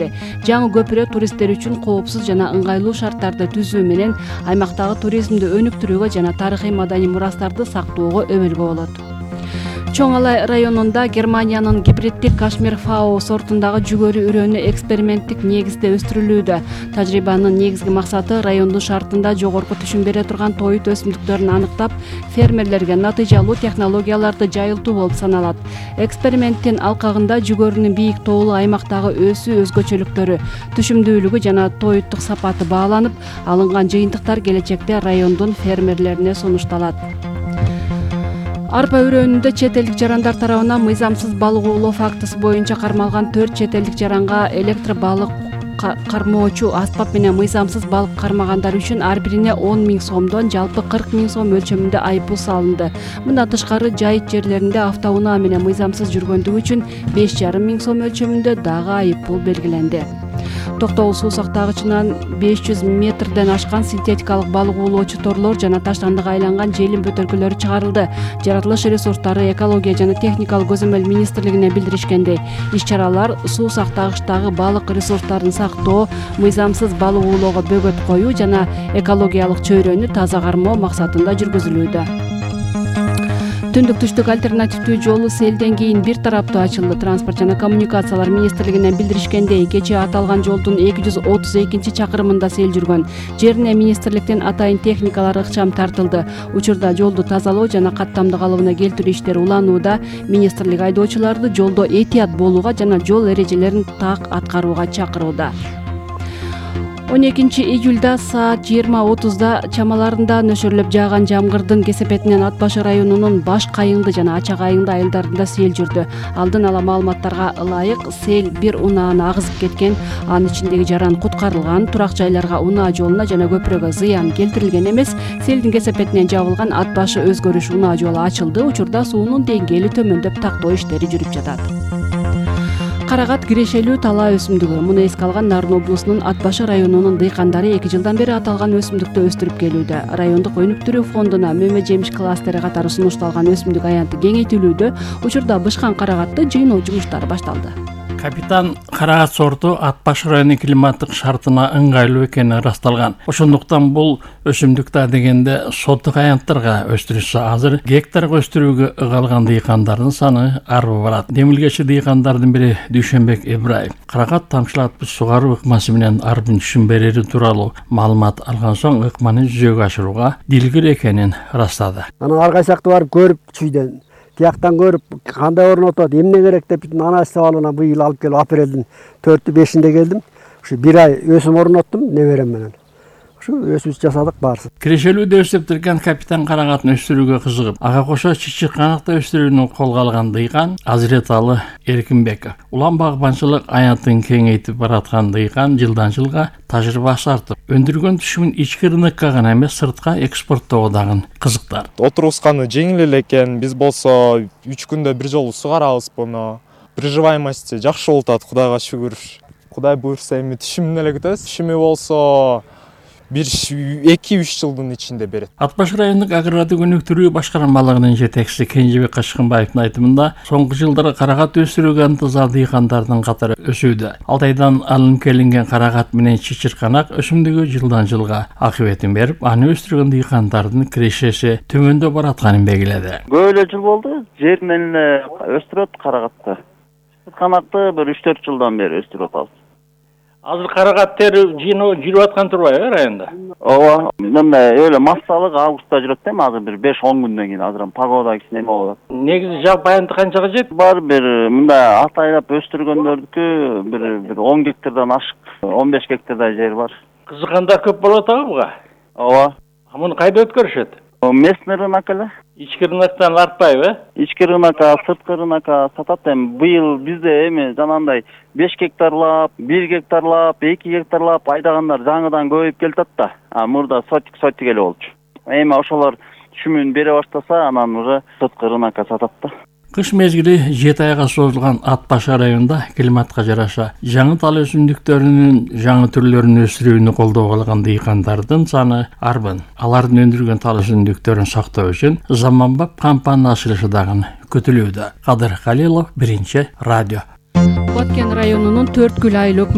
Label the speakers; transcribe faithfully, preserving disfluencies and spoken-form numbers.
Speaker 1: берди. Жаңы көпүрө туристтер үчүн коопсуз жана ыңгайлуу шарттарды түзүү менен аймактагы туризмди өнүктүрүүгө жана тарыхый маданий мурастарды сактоого өбөлгө болот. Чоң Алай районунда Германиянын гибриддик кашмир фао сортундагы жүгөрү үрөнү эксперименттик негизде өстүрүлүүдө. Тажрыйбанын негизги максаты райондун шартында жогорку түшүм бере турган тоют өсүмдүктөрүн аныктап, фермерлерге натыйжалуу технологияларды жайылтуу болуп саналат. Эксперименттин алкагында жүгөрүнүн бийик тоолуу аймактагы өсүү өзгөчөлүктөрү, түшүмдүүлүгү жана тоюттук сапаты бааланып, алынган жыйынтыктар келечекте райондун фермерлерине сунушталат. Арпа үрөнүндө чет элдик жарандар тарабынан мыйзамсыз балык оолоо фактысы боюнча кармалган төрт чет элдик жаранга электр балык кармоочу аспап менен мыйзамсыз балык кармагандар үчүн ар бирине он миң сомдон жалпы кырк миң сом мөлчөрүндө айыппул салынды. Мындан тышкары жайыт жерлеринде автоунаа менен мыйзамсыз жүргөндүгү үчүн беш жарым миң сом мөлчөрүндө дагы айыппул белгиленди. Токтогул суу сактагычынан беш жүз метрден ашкан синтетикалык балык оолоочу торлор жана таштандыга айланган желим бөтөлкөлөрү чыгарылды. Жаратылыш ресурстары, экология жана техникалык көзөмөл министрлигине билдиришкендей, иш-чаралар суу сактагычтагы балык ресурстарын сактоо, мыйзамсыз балык оолоого бөгөт коюу жана экологиялык чөйрөнү таза кармоо максатында жүргүзүлүүдө. Түндүк-түштүк альтернативдүү жолу селден кийин бир тараптуу ачылды. Транспорт жана коммуникациялар министрлигинен билдиришкендей, кечээ аталган жолдун эки жүз отуз экинчи чакырымында сел жүргөн. Жерине министрликтин атайын техникалар ыкчам тартылды. Учурда жолду тазалоо жана каттамды калыбына келтирүү иштери уланууда. Министрлик айдоочуларды жолдо этият болууга жана жол эрежелерин так аткарууга чакырууда. он экинчи июлда саат жыйырма отузда чамаларында нөшөрлөп жааган жамгырдын кесепетинен Ат башы районунун Баш Кайыңды жана Ачак Айыңды айылдарында сел жүрдү. Алдын ала маалыматтарга ылайык, сел бир унааны агызып кеткен, анын ичиндеги жаран куткарылган, турак жайларга, унаа жолуна жана көпүрөгө зыян келтирилген эмес. Селдин кесепетинен жабылган Ат башы өзгөрүш унаа жолу ачылды. Учурда суунун деңгээли төмөндөп тактоо иштери жүрүп жатат. Карагат кирешелүү талаа өсүмдүгү. Муну эске алган Нарын облусунун Ат башы районунун дыйкандары эки жылдан бери аталган өсүмдүктү өстүрүп келүүдө. Райондук өнүктүрүү фондуна мөмө жемиш кластери катары сунушталган өсүмдүк аянты кеңейтилүүдө. Учурда бышкан карагатты жыйноо жумуштары башталды.
Speaker 2: Капитан карагат сорту Ат башы районунун климаттык шартына ыңгайлуу экени ырасталган. Ошондуктан бул өсүмдүк да дегенде соттук аянттарга өстүрүлсө, азыр гектарга өстүрүүгө ыгалган дыйкандардын саны арбы барат. Демилгечи дыйкандардын бири Дүйшөнбек Ибраев карагат тамчылатып сугаруу ыкмасы менен арбын түшүм берери тууралуу маалымат алган соң ыкманы жүзөгө ашырууга дилгир экенин ырастады.
Speaker 3: Анан ар кайсакты барып көрүп чүйдөн тияктан көрүп кандай орнотот, эмне керек деп бүтүн анализ абалына быйыл алып келип апрелдин төртү бешинде келдим. Ушу бир ай өсүм орноттум неберем менен. Ушу өсүш жасадык баарысы.
Speaker 2: Кирешелүүдө өстүптүргөн капитан карагатын өстүрүүгө кызыгып, ага кошо чычык канакты өстүрүүнү колго алган дыйкан Азиреталы Эркинбеков. Улам багбанчылык аянтын кеңейтип бараткан дыйкан жылдан жылга тажрыйбасы артып, өндүргөн түшүмүн ички рынокко гана эмес, сыртка экспорттоого дагы кызыктар.
Speaker 4: Отурусканы жеңил эле экен. Биз болсо үч күндө бир жолу сугарабыз буну. Приживаемости жакшы болуп атат, Кудайга шүгүр. Кудай буйрса эми түшүмүн эле күтөбүз. Түшүмү болсо бир эки үч жылдын ичинде берет.
Speaker 2: Ат башы райондук агрардык өнүктүрүү башкармалыгынын жетекчиси Кенжебек Качкынбаевдин айтымында, соңку жылдары карагат өсүрүүгө ынтызар дыйкандардын катары өсүүдө. Алтайдан алынып келинген карагат менен чычырканак өсүмдүгү жылдан жылга акыбетин берип, аны өстүргөн дыйкандардын кирешеси төмөндөп баратканын белгиледи.
Speaker 5: Көп эле жыл болду, жер менен эле өстүрөт карагатты. Чычырканакты бир үч төрт жылдан бери өстүрүп атабыз.
Speaker 2: Азыр карагат тери жыйноо жүрүп аткан турбайбы районда?
Speaker 5: Ооба, мындай эле массалык августта жүрөт да, азыр бир беш он күндөн кийин азыр погода кичине эме болот.
Speaker 2: Негизи жалпы аянты канчага жетти?
Speaker 5: Бар бир мындай атайлап өстүргөндөрдүкү бир бир он гектардан ашык, он беш гектардай жер бар.
Speaker 2: Кызыккандар көп болуп атабы буга?
Speaker 5: Ооба.
Speaker 2: Муну кайда өткөрүшөт?
Speaker 5: Местный рынок эле.
Speaker 2: Ички рыноктон артпайбы?
Speaker 5: Ички рынокко, сырткы рынокко сатат. Эми быйыл бизде эми жанагындай беш гектарлап, бир гектарлап, эки гектарлап айдагандар жаңыдан көбөйүп келатат да. А мурда сотик сотик эле болчу. Эми ошолор түшүмүн бере баштаса, анан уже сырткы рынокко сатат да.
Speaker 2: Кыш мезгили жети айга созулган Ат башы районунда климатка жараша жаңы тал өсүмдүктөрүнүн жаңы түрлөрүн өсүрүүнү колдоого алган дыйкандардын саны арбын. Алардын өндүргөн тал өсүмдүктөрүн сактоо үчүн заманбап кампания ачылышы дагы күтүлүүдө. Кадыр Калилов, Биринчи радио.
Speaker 1: Баткен районунун төрткүл айлык